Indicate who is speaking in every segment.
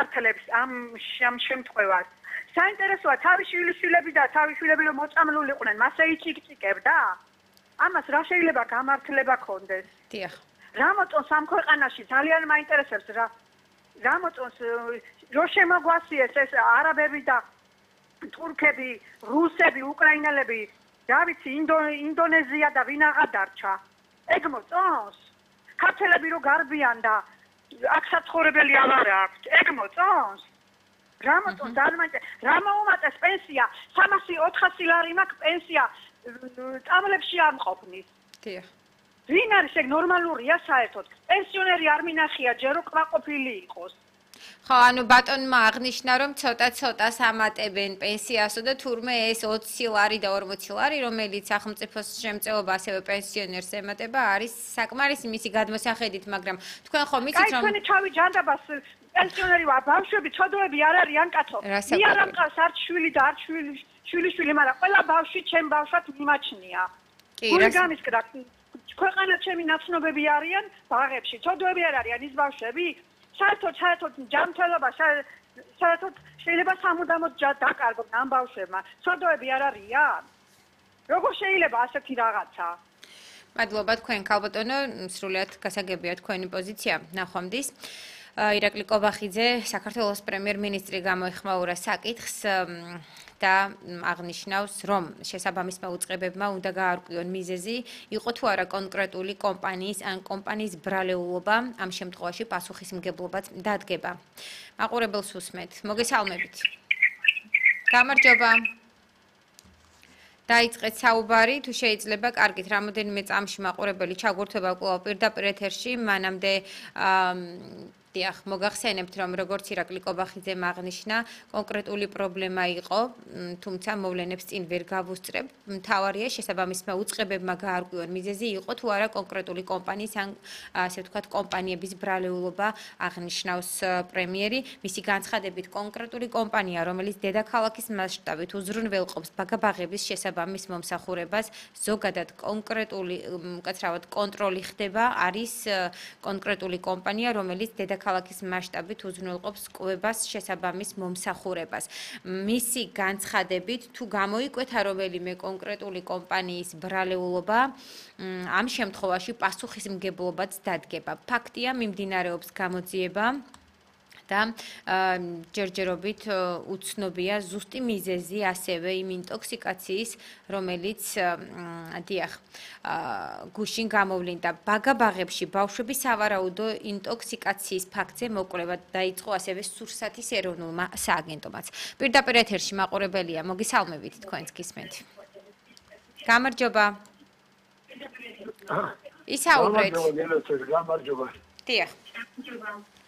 Speaker 1: მიმართლებს ამ შემთხვევას. საინტერესოა თავის შვილიშვილები და თავის შვილები რომ მოწამლულიყვნენ, მასე იწიკწიკებდა? ამას რა შეიძლება გამართლება ქონდეს?
Speaker 2: დიახ.
Speaker 1: რა მოწონს ამ ქვეყანაში ძალიან მაინტერესებს რა მოწონს რო შემოგვასიეს ეს არაბები და თურქები, რუსები, უკრაინელები, რა ვიცი, ინდონეზია და ვინ აღარ დარჩა. ეგ მოწონს? ქართველები რო გარბიან და აქ საცხოვრებელი აღარ აქვს. ეგ მოწონს? რა მოწონს? რა მოუმატეს პენსია? 300-400 ლარი მაქვს პენსია წამლებში არ მყოფნის.
Speaker 2: დიახ.
Speaker 1: ვინ არის ეგ ნორმალურია საერთოდ? პენსიონერი არ მინახია ჯერ რო კმაყოფილი იყოს.
Speaker 2: ხო, ანუ ბატონმა აღნიშნა, რომ ცოტა-ცოტას ამატებენ პენსიასო და თურმე ეს 20 ლარი და 40 ლარი, რომელიც სახელმწიფოს შემწეობა ასევე პენსიონერს ემატება, არის საკმარისი მისი გადმოსახედით, მაგრამ თქვენ ხომ იცით რომ
Speaker 1: თქვენი თავი ჯანდაბას პენსიონერი ვარ, ბავშვები, ცოდოები არ არიან კაცო. მე არ ამყავს არც შვილი და არც შვილიშვილი, მაგრამ ყველა ბავშვი ჩემ ბავშვად მიმაჩნია.
Speaker 2: კი,
Speaker 1: რა გამისკრა? ქვეყანა ჩემი ნაცნობები არიან ბაღებში, ცოდოები არ არიან ის ბავშვები? საერთოდ ჯანმრთელობა საერთოდ შეიძლება სამუდამოდ დაკარგონ ამ ბავშვებმა. ცოდოები არ არიან? როგორ შეიძლება ასეთი რაღაცა?
Speaker 2: მადლობა თქვენ ქალბატონო, სრულიად გასაგებია თქვენი პოზიცია. ნახვამდის. ირაკლი კობახიძე, საქართველოს პრემიერ-მინისტრი გამოეხმაურა საკითხს და აღნიშნავს, რომ შესაბამისმა უწყებებმა უნდა გაარკვიონ მიზეზი, იყო თუ არა კონკრეტული კომპანიის ან კომპანიის ბრალეულობა, ამ შემთხვევაში პასუხისმგებლობაც დადგება. მაყურებელს უსმენთ. მოგესალმებით. გამარჯობა. დაიწყეთ საუბარი, თუ შეიძლება, კარგით, რამოდენიმე წამში მაყურებელი ჩაგურთვება კვლავ პირდაპირ ეთერში, მანამდე დიახ, მოგახსენებთ, რომ როგორც ირაკლი კობახიძემ აღნიშნა, კონკრეტული პრობლემა იყო, თუმცა მოვლენებს წინ ვერ გავუსწრებ. მთავარია შესაბამისმა უწყებებმა გაარკვიონ მიზეზი, იყო თუ არა კონკრეტული კომპანიის ან ასე ვთქვათ, კომპანიების ბრალეულობა, აღნიშნავს პრემიერი. მისი განცხადებით, კონკრეტული კომპანია, რომელიც დედაქალაქის მასშტაბით უზრუნველყოფს ბაგაბაღების შესაბამის მომსახურებას, ზოგადად კონკრეტული, უკაცრავად კონტროლი ხდება, არის კონკრეტული კომპანია, რომელიც ქალაქის მასშტაბით უზრუნველყოფს კვებას შესაბამის მომსახურებას. მისი განცხადებით, თუ გამოიკვეთა რომელიმე კონკრეტული კომპანიის ბრალეულობა, ამ შემთხვევაში პასუხისმგებლობაც დადგება. ფაქტია, მიმდინარეობს გამოძიება და ჯერჯერობით უცნობია ზუსტი მიზეზი ასევე იმ ინტოქსიკაციის, რომელიც დიახ, გუშინ გამოვლინდა. ბაგაბაღებში ბავშვები სავარაუდო ინტოქსიკაციის ფაქტზე მოკვლევა დაიწყო ასევე სურსათის ეროვნულმა სააგენტომაც. პირდაპირ ეთერში მაყურებელია, მოგესალმებით, თქვენც გისმენთ. გამარჯობა. ისაუბრეთ.
Speaker 3: გამარჯობა.
Speaker 2: დიახ.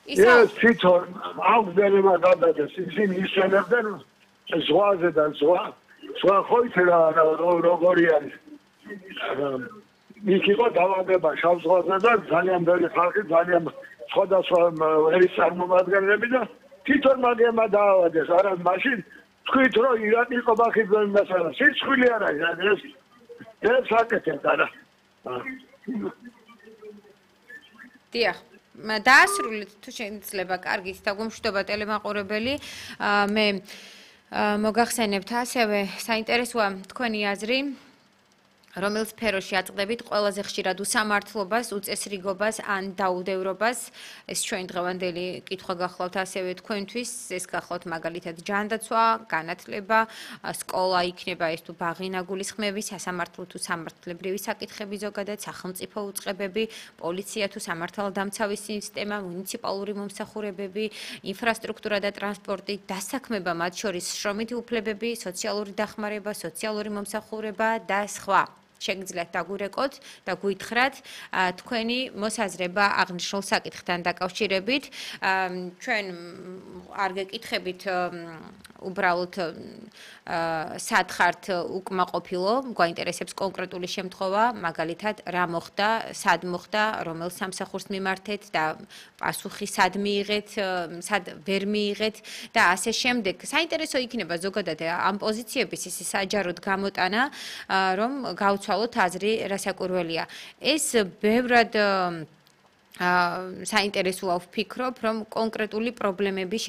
Speaker 3: ეს თვითონ აღწერება გადადეს ისინი ისენებდნენ ზღვაზე და ზღვა ხოითრა როგორი არის იქ იყო დაავადება შავ ზღვაზე და ძალიან ბევრი ხალხი ძალიან სხვადასხვა ერის წარმომადგენლები და თვითონ მაგემა დაავადეს არა მაშინ თქვით რომ ირაკლი კობახიძე მასალა სიცხვილე არ არის ეს საკეთეთ არა
Speaker 2: დიახ დაასრულეთ თუ შეიძლება კარგით დაგუმშვიდობა ტელემაყურებელი მე მოგახსენებთ ასევე საინტერესოა თქვენი აზრი რომელ სფეროში აწყდებით ყველაზე ხშირად უსამართლობას, უწესრიგობას ან დაუდევრობას ეს ჩვენ დღევანდელი კითხვა გახლავთ ასევე თქვენთვის ეს გახლავთ მაგალითად ჯანდაცვა, განათლება, სკოლა იქნება ეს თუ ბაღი ნაგულისხმები, სასამართლო თუ სამართლებრივი საკითხები ზოგადად, სახელმწიფო უწყებები, პოლიცია თუ სამართალდამცავი სისტემა, მუნიციპალური მომსახურებები, ინფრასტრუქტურა და ტრანსპორტი, დასაქმება მათ შორის შრომითი უფლებები, სოციალური დახმარება, სოციალური მომსახურება და სხვა. შეგიძლიათ დაგვირეკოთ და გვითხრათ თქვენი მოსაზრება აღნიშნულ საკითხთან დაკავშირებით. ჩვენ არ გეკითხებით უბრალოდ სად ხართ უკმაყოფილო, გვაინტერესებს კონკრეტული შემთხვევა, მაგალითად რა მოხდა, სად მოხდა, რომელ სამსახურს მიმართეთ და პასუხი სად მიიღეთ, სად ვერ მიიღეთ და ასე შემდეგ. საინტერესო იქნება ზოგადად ამ პოზიციების ის საჯაროდ გამოტანა, რომ გავცვალოთ აზრი რასაკურველია. ეს ბევრად საინტერესოა ვფიქრობ, რომ კონკრეტული პრობლემები